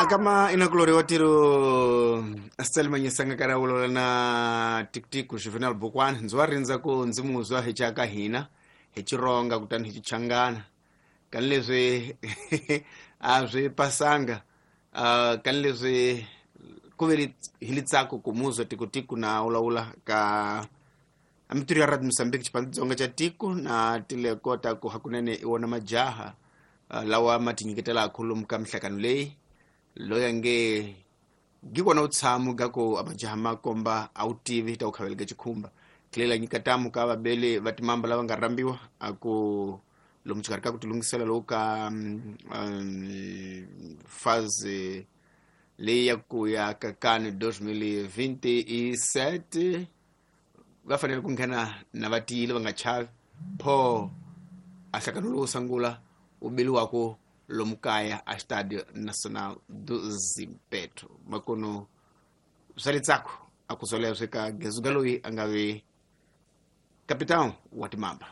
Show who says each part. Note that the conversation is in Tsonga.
Speaker 1: Kama inakuloriwa tiro Selma Nyisanga kara vulavula na Tikutiku Juvenal Bukwani. Ndzi wa rindza ku ndzi muzwa hi chaka hina hi Chironga kutani hi Chichangana kani leswi a swi pasanga, kani leswi ku ve hi litsako ku muzwa Tikutiku na vulavula ka amitirho ya Radio Mozambique Xitsonga xa tiko na tilekota ku hakunene i wona majaha lawa ma tinyiketela khulumu ka mihlangano leyi loyi nge gikona utshamo ga ku amajaha ma komba a wu tivi ta ku khaveleka chikhumba tlela nyika tamu ka vabele va timamba lava nga rambiwa a ku lomu xikarhi ka ku tilungisela lowu ka faze leyi ya ku ya ka kani 2027 va fanele ku nghena na va tiyile va nga chavi pho a hlangano lowu sungula wu beliwaku lomu kaya a Estádio Nacional do Zimpeto. Makono swa litsako a ku swoleswo ka Gezuga loyi a nga ve capitão wa timamba.